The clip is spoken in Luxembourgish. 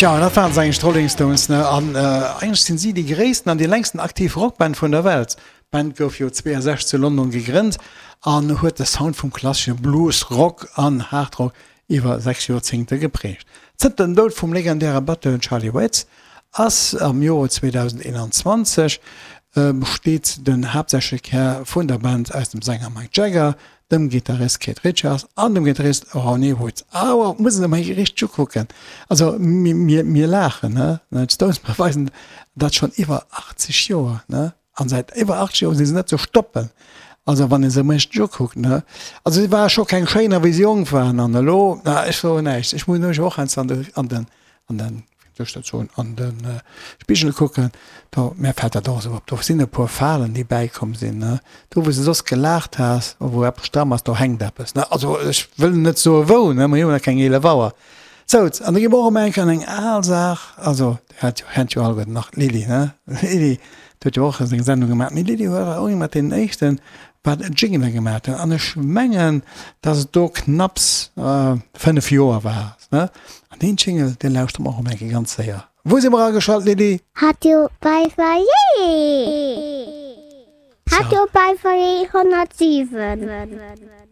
Tja, dat waren se eigentlech, d'Rolling Stones, ne? An eigentlech sinn si déi gréissten an déi längsten aktiv Rockband vun der Welt. D'Band gouf jo 62 zu London gegrënnt an huet de Sound vum klassesche Blues, Rock an Hard Rock iwwer 6 Joerzéngte geprägt. Zënter dem Doud vum legendäre Batteur Charlie Watts ass am Joer 2021 besteet den haaptsächleche Kär vun der Band aus dem Sänger Mick Jagger, dem Gittarist Keith Richards an dem Gittarist Ronnie Wood. Awer muss een emol richteg ukucken. Also mir, mir laachen, ne? D'Stones beweisen dat schonn iwwer 80 Joer, ne? An säit iwwer 80 Joer si se net ze stoppen. Also wann ee se emol richteg ukuckt, ne? Also si ware scho keng Schéiner wéi se jonk waren an elo, na ech soen näischt. Ech muss nämlech och heiansdo an de, an den, an den, wéi soll ech dat soen, an de Spigel kucken, do, mär fält dat och esou op, do sinn e puer Falen déi bäikomm sinn, ne? Do wou s de soss gelaacht has, wou eppes stramm ass, do hänkt eppes, ne? Also ech wëll net soe wou, ne, mer hu jo nach keng 11 Auer. Sou, an da gi mer och emol eng Kéier an eng al Saach, also Dir hat jo, kennt jo alleguerten nach d'Lili, ne? D'Lili, déi huet jo och seng Sendung gemaach. Mee d'Lili war och eng mat deenen éischten, wat Jingele gemaach huet. An ech mengen, dass et do knapps 5 Joer war, ne? An deen Jingle, dee lauschtere mer och emol eng Kéier ganz séier. Wou si mer ageschalt, Lili? Radio Beifall, jee! Radio Beifall 107.